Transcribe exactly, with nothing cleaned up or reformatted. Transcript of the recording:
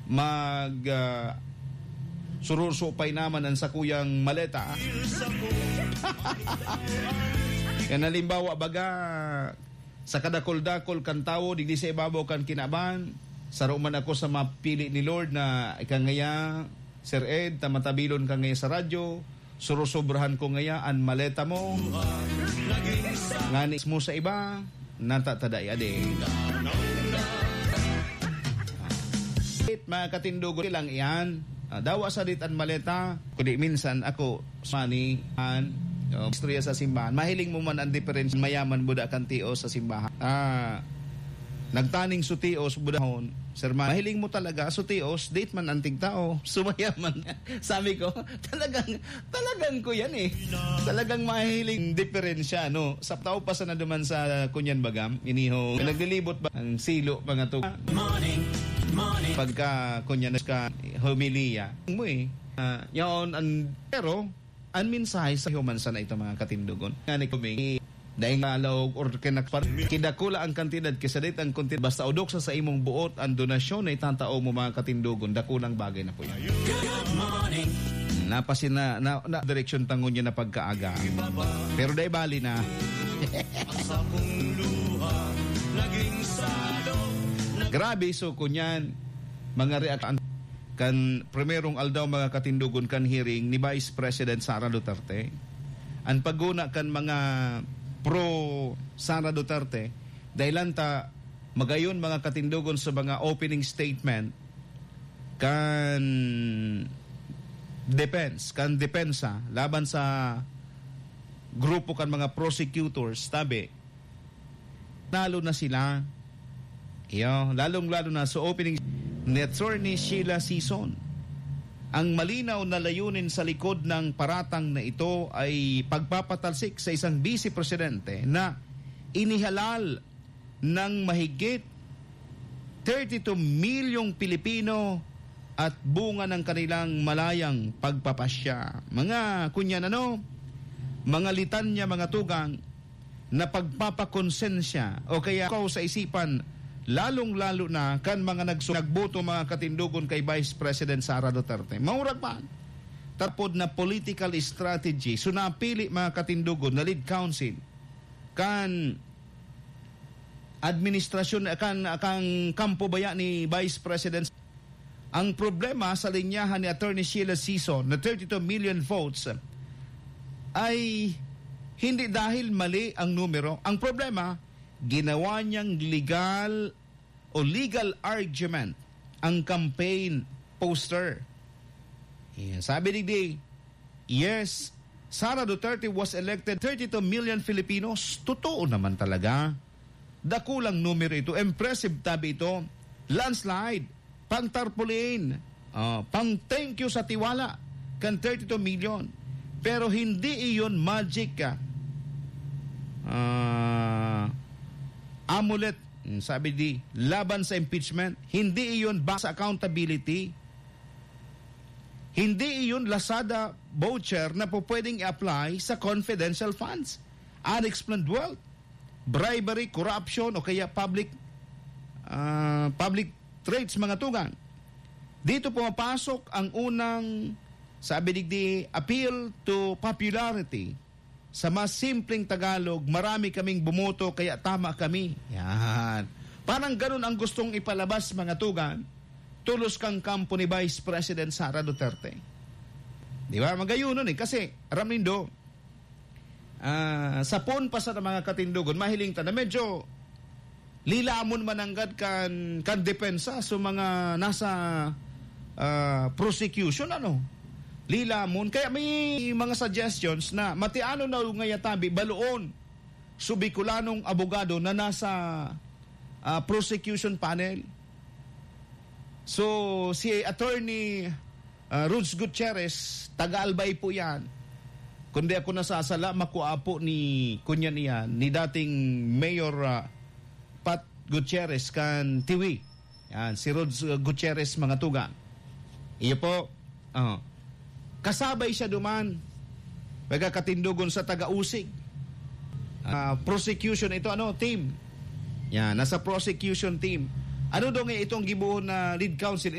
mag, ah, surursupay naman an sakuyang maleta. Kan halimbawa, baga, sa kadakul-dakul kan tawo, digdi sa ibabaw kan kinaban, saro man ako sa mapili ni Lord na ika ngaya, Sir Ed, ta matabilon ka ngaya sa radyo, surusobrahan ko ngaya an maleta mo. Ngani mo sa iba, natatada adi. Mga katindogon lang iyan. Ah, dawa sa dit an maleta, kundi minsan ako, money, an, oh, istorya sa simbahan. Mahiling mo man ang diferensya, mayaman buda kan tios sa simbahan. Ah, nagtaning sutios, budahon. Sir, mahiling mo talaga, sutios, date man antig tao, sumayaman. Sabi ko, talagang, talagang ko yan eh. Talagang mahiling diferensya, no? Sa tao pa sana duman sa kunyan bagam, iniho, naglilibot ba ang silo, mga to? Morning, morning. Pagka kunyan ka, homilya mo eh. Ah, yaon, ang, pero, ang mensahe sa human sana ito, mga katindogon. Nga ni kami, daing alaog or kinakpar-, kidakula ang kantidad, kisadit ang konti, basta udok sa, sa imong buot, ang donasyon na itatao mo, mga katindogon, dakulang bagay na po yan. Good morning. Napasina-, na, na, direksyon tangon niya na pagkaaga. Pero dai bali na. Ang sakong luha, naging salog. Grabe, so, kunyan, mga reaksyon kan primerong aldaw, mga katindogon, kan hearing ni Vice President Sara Duterte. An paghona kan mga pro Sara Duterte, dahilan ta magayon, mga katindogon, sa mga opening statement kan defense, kan depensa laban sa grupo kan mga prosecutors, tabi, nalo na sila. Iyo, lalong-lalo na sa opening ni Attorney Sheila Sison. Ang malinaw na layunin sa likod ng paratang na ito ay pagpapatalsik sa isang vice presidente na inihalal ng mahigit thirty-two milyong Pilipino at bunga ng kanilang malayang pagpapasya. Mga kunyan ano, mga litanya, mga tugang na pagpapakonsensya o kaya ikaw sa isipan, lalong-lalo na kan mga nagsu-, nagboto, mga katindogon, kay Vice President Sara Duterte. Maurag pa, tapod na political strategy. So, napili, mga katindogon, na lead counsel kan administrasyon, kan, kan kampo baya ni Vice President. Ang problema sa linyahan ni Attorney Sheila Sison na thirty-two million votes ay hindi dahil mali ang numero. Ang problema, ginawa niyang legal o legal argument ang campaign poster. Yeah, sabi digdi, "Yes, Sara Duterte was elected, thirty-two million Filipinos." Totoo naman talaga. Dakulang numero ito. Impressive tabi ito. Landslide. Pang tarpaulin. Ah, pang thank you sa tiwala kan thirty-two million. Pero hindi iyon magic, ah, ah, amulet, mm, sabi di, laban sa impeachment. Hindi iyon ba sa accountability? Hindi iyon Lazada voucher na po pwedeng i-apply sa confidential funds, unexplained wealth, bribery, corruption, o kaya public, ah, public trades, mga tugang. Dito pumapasok ang unang, sabi digdi, appeal to popularity. Sa mas simpleng Tagalog, marami kaming bumoto kaya tama kami. Yan. Parang ganun ang gustong ipalabas, mga tugang, tulos kang kampo ni Vice President Sara Duterte. Di ba? Magayunon eh. Kasi, aram nindo, ah, sa poon pa sa mga katindogon, mahiling ta na medyo lilamon mananggad kan, kan depensa sa mga nasa, ah, prosecution, ano? Lilamon. Kaya may mga suggestions na matiano na ngaya tabi, baloon, sa Bicolanong abogado na nasa, ah, prosecution panel. So, si Attorney, ah, Rods Gutierrez, taga Albay po yan. Kung di ako nasasala, makua po ni, kunyan iyan, ni dating Mayor, ah, Pat Gutierrez kan Tiwi. Yan, si Rods, uh, Gutierrez, mga tugang. Iyo po. Oh. Kasabay siya duman. Pagkakatindogon sa taga-Usig. Ah, prosecution ito, ano, team. Yan, nasa prosecution team. Ano daw nga itong gibohon na lead counsel,